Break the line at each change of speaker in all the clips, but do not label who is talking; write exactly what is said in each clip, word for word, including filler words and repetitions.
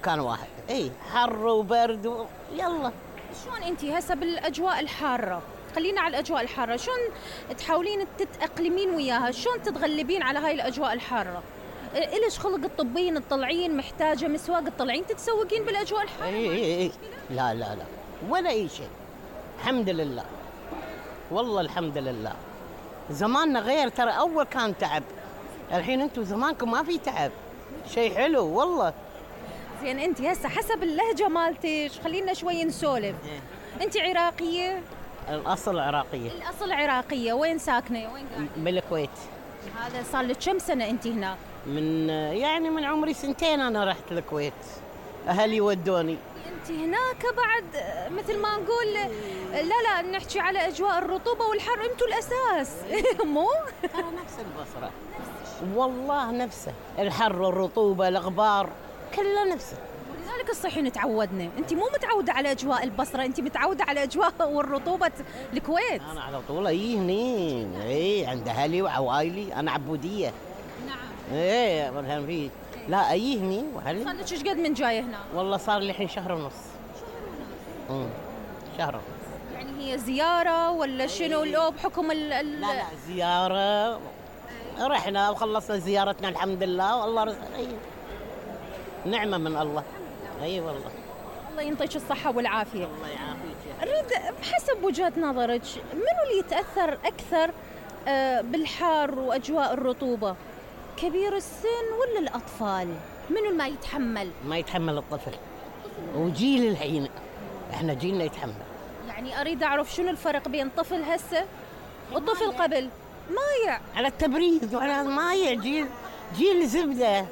مكان واحد. اي حر وبرد و... يلا.
شلون انت هسه بالاجواء الحاره؟ خلينا على الاجواء الحاره، شلون تحاولين تتاقلمين وياها؟ شلون تتغلبين على هاي الاجواء الحاره؟ إلش خلق تطبين تطلعين، محتاجه مسواق تطلعين تتسوقين بالاجواء الحاره؟
اي اي اي لا لا لا ولا اي شيء، الحمد لله والله الحمد لله. زماننا غير ترى، اول كان تعب، الحين انتم زمانكم ما في تعب، شيء حلو والله.
زين انت هسه حسب اللهجه مالتك خلينا شوي نسولف. إيه؟ انت عراقيه؟
الاصل عراقيه.
الاصل عراقيه، وين ساكنه؟ وين قاعده؟
بالكويت.
هذا صار لك كم سنه انت هناك؟
من يعني من عمري سنتين انا رحت الكويت، اهلي ودوني.
انت هناك بعد مثل ما نقول لا لا نحكي على اجواء الرطوبه والحر، انتم الاساس. مو
ترى نفس البصره والله، نفسه الحر والرطوبه الغبار كله نفسه.
ولذلك الصحي تعودنا. انت مو متعوده على اجواء البصره، انت متعوده على اجواء والرطوبه الكويت.
انا على طول اي هني، اي عند اهلي وعوائلي، انا عبوديه.
نعم.
ايه مثلا في لا اي هني واهلي.
صار لك ايش قد من جايه هنا؟
والله صار لي الحين شهر ونص. شهر ونص. امم شهر ونص.
يعني هي زياره ولا شنو لو بحكم ال ال
لا لا زياره، رحنا وخلصنا زيارتنا الحمد لله والله رزق. اي نعمه من الله. اي والله.
الله ينطيك الصحه والعافيه.
الله يعافيك.
اريد بحسب وجهه نظرك منو اللي يتاثر اكثر بالحار واجواء الرطوبه؟ كبير السن ولا الاطفال؟ منو ما يتحمل؟
ما يتحمل الطفل، وجيل الحين احنا جيلنا يتحمل.
يعني اريد اعرف شنو الفرق بين طفل هسه وطفل قبل. مايع
على التبريد وعلى مايع، جيل جيل زبده،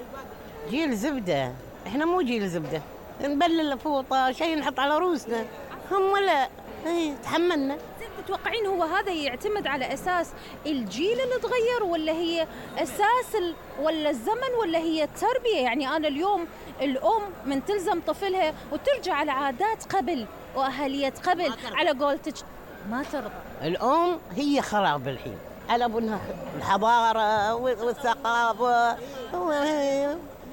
جيل زبده. احنا مو جيل زبده، نبلل فوطه شيء نحط على روسنا، هم لا. اي تحملنا.
زين تتوقعين هو هذا يعتمد على اساس الجيل اللي تغير، ولا هي اساس ال... ولا الزمن، ولا هي التربيه؟ يعني انا اليوم الام من تلزم طفلها وترجع على عادات قبل واهليه قبل، على قولتك ما ترضى.
الام هي خراب الحين على بنها الحضاره والثقافه،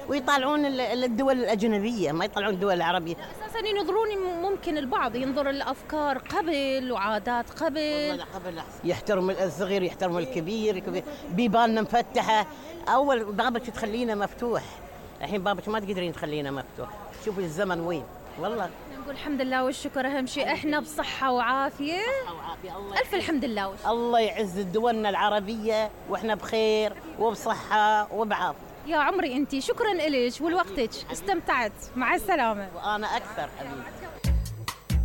ويطالعون الدول الأجنبية، ما يطلعون الدول العربية.
أساساً ينظرون، ممكن البعض ينظر الأفكار قبل وعادات قبل.
والله قبل يحترم الصغير يحترم الكبير، بيباننا مفتحة. أول بابك تخلينا مفتوح، الحين بابك ما تقدرين تخلينا مفتوح. شوفي الزمن وين والله.
نقول الحمد لله والشكر، أهم شيء إحنا بصحة وعافية.
بصحة وعافية. الله
ألف الحمد لله والشكر.
الله يعز دولنا العربية وإحنا بخير وبصحة وبعافية.
يا عمري أنتي، شكراً إليك ولوقتك، استمتعت. مع السلامة.
وأنا أكثر حبيبي.